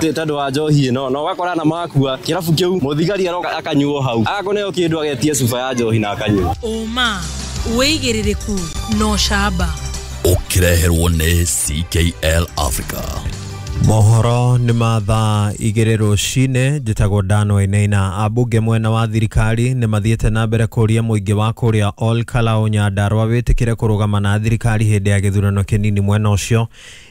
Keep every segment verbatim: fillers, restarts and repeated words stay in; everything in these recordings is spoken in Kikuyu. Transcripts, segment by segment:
Tondũ wa njohi ĩno na ũgakora na makua kĩrabu kĩu mũthigari aroka akanyuo hau akũneo kĩndũ agetia cuba ya njohi na akanyua. Ũma, wĩigĩrĩrĩku na ũcamba. Ũkĩreherwo nĩ C K L Africa. Mohoro nĩ ma thaa igĩrĩ rũcinĩ. Njĩtagwo Dan Wainaina. Ambunge mwena wa thirikari nĩ mathiĩte na mbere kũria mũingĩ wa kũrĩa Ol Kalou Nyandarua wĩtĩkĩre kũrũgama na thirikari hĩndĩ ya gĩthurano kĩnini mwena ũcio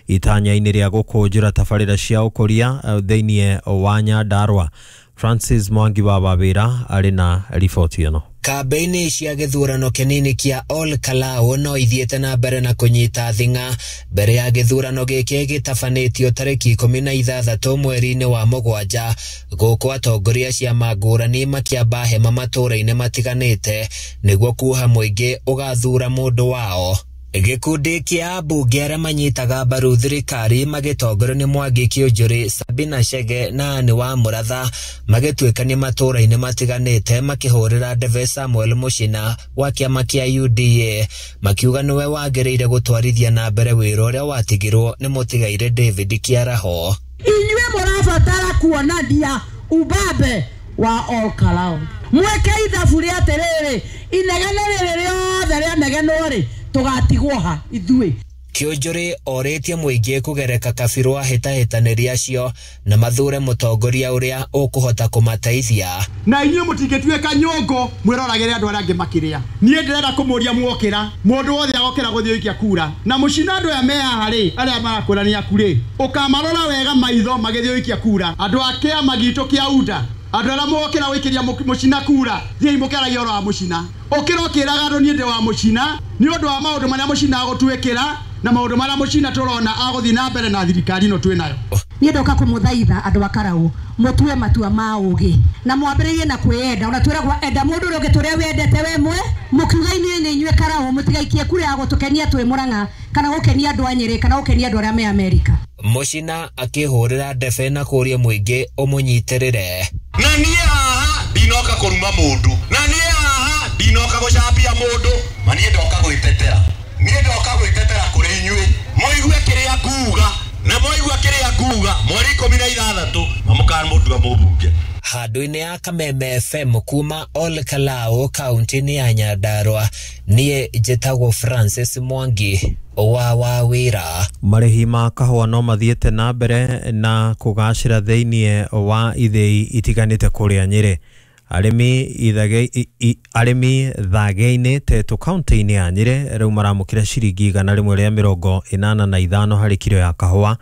itanya-inĩ rĩa gũkũnjũra tabarĩra cia ũkũria thĩinĩ wa Nyandarua. Francis Mwangi wa Wawĩra arĩ na riboti ĩno. Kambeini cia gĩthurano kĩnini kĩa Ol Kalou no ithiĩte na mbere na kũnyita thing'a mbere ya gĩthurano gĩkĩ gĩtabanĩtio tarĩki ikũmi na ithathatũ mweri-inĩ wa mũgwanja, gũkũ atongoria ciama ngũrani makĩamba hema matũũra-inĩ matiganĩte nĩguo kuoha mũingĩ ũgathuura mũndũ wao. Gĩkundi kĩa ambunge arĩa manyitaga mbaru thirikari magĩtongorio nĩ Mwangi Kiunjuri, Sabina Chege na Anne wa Mũratha magĩtuĩkania matũũra-inĩ matiganĩte makĩhũrĩra ndebe Samuel Mũchina wa kĩama kĩa U D A makiuga nĩwe wagĩrĩire gũtwarithia na mbere wĩra ũrĩa watigirwo nĩ mũtigaire David Kĩaraho. Inyuĩ mũrabatara kuonania ubabe wa Ol Kalou. Mweke ithabu rĩa atĩrĩrĩ, inegene rĩrĩ rĩothe rĩanegenwo rĩ, tũgatigwo ha ithuĩ. Kiunjuri orĩtie mũingĩ kũgereka kabirũ ahĩtahĩtanĩri acio na mathure mũtongoria ũrĩa ũkũhota kũmateithia. Na inyuĩ mũtingĩtuĩka nyũngũ mwĩroragĩre andũ arĩa angĩ makĩrĩa. Niĩ ndĩrenda kũmũria mwokĩra, mũndũ wothe agokĩra gũthiĩ gũikia kura. Na mũcina andũ aya me haha rĩ, arĩa marakwĩra nĩ aku rĩ, ũkamarora wega maitho magĩthiĩ gũikia kura. Andũ a kĩama gitũ kĩa U D A, andũ arĩa mokĩra gũikĩria mũcina kura, thiĩi mũkĩaragia ũhoro wa mũcina. Ũkĩra ũkĩraga andũ niĩ ndĩ wa mũcina, nĩ ũndũ wa maũndũ marĩa mũcina agũtuĩkĩra na maũndũ marĩa mũcina tũrona agũthiĩ na mbere na thirikari ĩno twĩ nayo. Niĩ ndoka kũmũthaitha andũ a Karau mũtue matua ma ũgĩ na mwambĩrĩrie na kwĩyenda. Ona twĩragwo enda mũndũ ũrĩa ũngĩ tũrĩa wendete we mwe, mũkiuga inyuĩ nĩ inyuĩ Karau mũtigaikie kura ya gũtũkenia twĩ Mũrang'a kana gũkenia andũ a Nyĩrĩ kana gũkenia andũ arĩa me Amerika. Mũcina akĩhũrĩra ndebe na kũria mũingĩ ũmũnyitĩrĩre. Na niĩ haha ndinoka kũruma mũndũ, na niĩ haha ndinoka gũcambia mũndũ, ma niĩ ndoka gwĩtetera. Niĩ ndoka gwĩtetera kũrĩ inyuĩ mũigue kĩrĩa nguga, na mwaigua kĩrĩa nguga mweri ikũmi na ithathatũ mamũkamũtua mũmbunge. Handũ-inĩ ya Kameme F M kuma Ol Kalou kaunti-inĩ ya Nyandarua, niĩ njĩtagwo Francis Mwangi wa Wawĩra. Marĩhi ma kahũa no mathiĩte na mbere na kũgacĩra thĩinĩ wa ithĩi itiganĩte kũrĩa Nyĩrĩ. Arĩmi ithage arĩmi thage-inĩ Tetu kaunti-inĩ ya Nyĩrĩ rĩu maramũkĩra ciringi igana rĩmwe rĩa mĩrongo ĩnana na ithano harĩ kiro ya kahũa,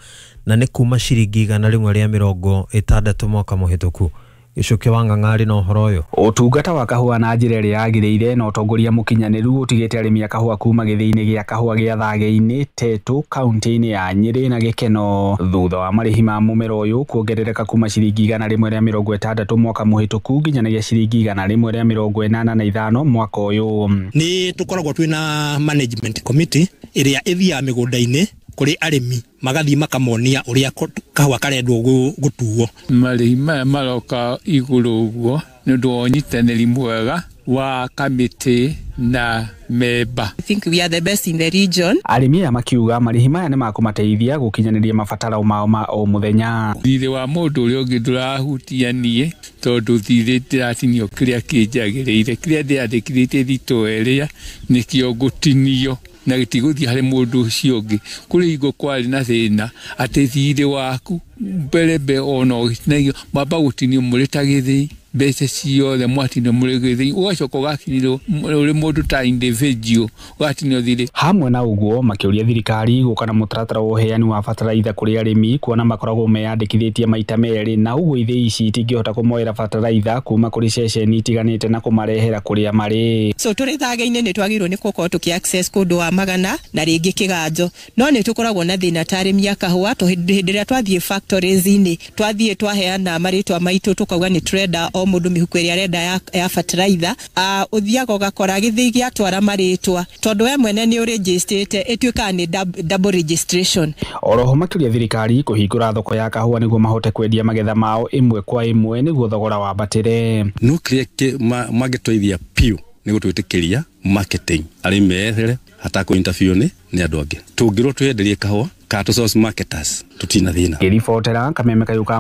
na nĩ kuma ciringi igana rĩmwe rĩa mĩrongo ĩtandatũ mwaka mũhĩtũku. Gĩcũkĩ wa Ng'ang'ari na ũhoro ũyũ. Ũtungata wa kahũa na njĩra ĩrĩa yagĩrĩire na ũtongoria mũkinyanĩru ũtigĩte arĩmi a kahũa kuma gĩthĩi-inĩ gĩa kahũa gĩa thage-inĩ Tetu kaunti-inĩ ya Nyĩrĩ na gĩkeno thutha wa marĩhi ma mũmera ũyũ kuongerereka kuma ciringi igana rĩmwe rĩa mĩrongo ĩtandatũ mwaka mũhĩtũku nginyanagia ciringi igana rĩmwe rĩa mĩrongo ĩnana na ithano mwaka ũyũ. Nĩ tũkoragwo twĩna management committee ĩrĩa ĩthiaga mĩgũnda-inĩ kũrĩ arĩmi magathiĩ makamonia ũrĩa kahũa karendwo gũtuo. Marĩhi maya maroka igũrũ ũguo nĩ ũndũ wa ũnyitanĩri mwega wa kamĩtĩ na memba. I think we are the best in the region. Arĩmi aya makiuga marĩhi maya nĩ makũmateithia gũkinyanĩria mabataro mao ma o mũthenya. Thirĩ wa mũndũ ũrĩa ũngĩ ndũrahutia niĩ tondũ thirĩ ndĩratinio kĩrĩa kĩnjagĩrĩire, kĩrĩa ndĩrandĩkithĩtie thitoo ĩrĩa nĩkĩo ngũtinio na gĩtigũthiĩ harĩ mũndũ ũcio ũngĩ. Kũrĩ hingo kwarĩ na thĩna atĩ thirĩ waku mbere mbere ona ũgĩtinagio mwamba gũtinio mũrĩ ta gĩthĩi mbeca ciothe mwatinio mũrĩ gĩthĩi, ũgacoka ũgakinyĩrwo ũrĩ mũndũ ta individual ũgatinio thirĩ. Hamwe na ũguo makĩũria thirikari gũka na mũtaratara wa ũheani wa bataraitha kũrĩ arĩmi kuona makoragwo meyandĩkithĩtie maita merĩ na ũguo ithĩi ici itingĩhota kũmoera bataraitha kuma kũrĩ ceceni itiganĩte na kũmarehera kũrĩa marĩ. So tũrĩ thage-inĩ nĩ twagĩrĩirwo nĩ gũkorwo tũkĩ access kũndũ wa Magana na rĩngĩ Kĩganjo, no nĩ tũkoragwo na thĩna ta arĩmi a kahũa hĩndĩ ĩrĩa twathiĩ factories-inĩ twathiĩ twaheana marĩtwa maitũ tũkauga nĩ tũrenda o mũndũ mĩhuko ĩrĩa arenda ya, ya fertilizer, uh, ũthiaga ũgakora gĩthĩi gĩatwara marĩtwa tondũ we mwene nĩ ũrĩnjĩstĩte ĩtuĩkaga nĩ double registration. Oroho makĩria thirikari kũhingũra thoko ya kahũa nĩguo mahote kwendia magetha mao ĩmwe kwa ĩmwe nĩguo thogora wambatĩre. No kĩrĩa mangĩtũithia piũ nĩ gũtwĩtĩkĩria marketing arĩmi methere hatakũ interview nĩ nĩ andũ angĩ. Tũngĩrwo twĩenderie kahũa kana tũ source marketers, tũtina thĩna. Ngĩribotera kameme kayũ ka.